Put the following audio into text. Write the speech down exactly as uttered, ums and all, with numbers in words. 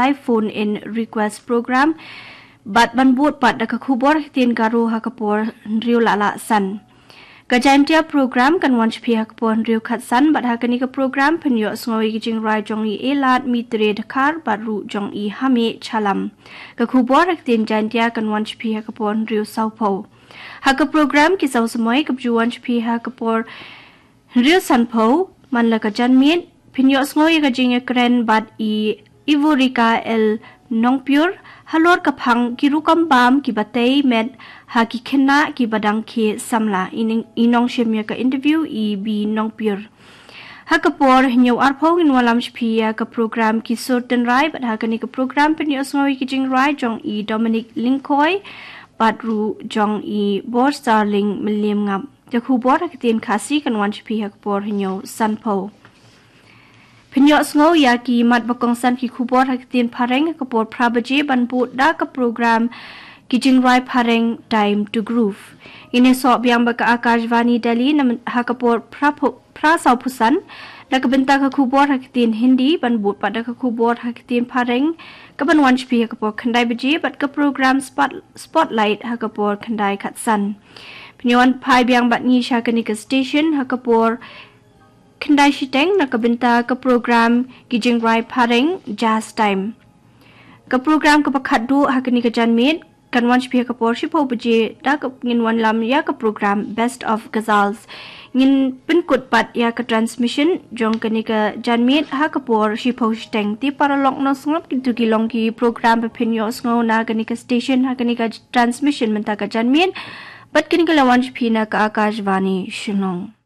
live phone in request program bad ban bud pat da ka khubor ha ka ktien Garo ha ka por hynriew la la san. Ka Jaintia program kan wan sha phi ha ka por hynriew khatsan bad ha kane ka program phin ïohsngew ïa ki jingrwai jong i Elad Mitre Dkhar bad ruh jong i Hame Chalam. Ka khubor ha ka ktien Jaintia kan wan sha phi ha ka por hynriew sawphew. Ha ka program Ki Saw Samoi kaba ju wan sha phi ha ka por hynriew sanphew, man la ka janmiet phin ïohsngew ïa ka jingïakren bad i Ivorika L Nongpyur halor ka phang ki rukom bam kiba tei met ha ki khynnah kiba dang khie samla. I ning-, i nongshim ïa ka interview i B Nongpyur. Ha ka por hynñiew arphew ngin wallam sha phi ïa ka program Ki Sur Tynrai bad ha kane ka program phin ïohsngew ïa ki jingrwai jong i Dominic Lyngkhoi bad ruh jong i Borstarling Mylliemngap. Ka khubor ha ka ktien Khasi kan wan sha phi ha ka por hynñiew sanphew. Phin ïohsngew ïa ki mat ba kongsan ki khubor ha ka ktien Phareng ha ka por phra baje ban bud da ka program Ki Jingrwai Phareng Time to Groove. Ngin ïasoh biang bad ka Akashvani Delhi na myn-, ha ka por phra phew-, phra sawphew san na ka bynta ka khubor ha ka ktien Hindi ban bud pat da ka khubor ha ka ktien Phareng kaban wan sha phi ha ka por khyndai baje bad ka program Spot-, Spotlight ha ka por khyndai khatsan. Phin ïawan phai biang bad ngi sha kane ka station ha ka por khyndai shiteng na ka bynta ka program Ki Jingrwai Phareng Jazz Time. Ka program kaba khatduh ha kane ka janmiet kan wan sha phi ha ka por shiphew baje da kaba ngin wallam ïa ka program Best of Ghazals. Ngin pynkut pat ïa ka transmission jong kane ka janmiet ha ka por shiphew shiteng. Te paralok nongsngap, kito ki long ki program ba phin ïohsngew na kane ka station ha kane ka transmission mynta ka janmiet. Bad kane ka la wan sha phi na ka Akashvani Shillong.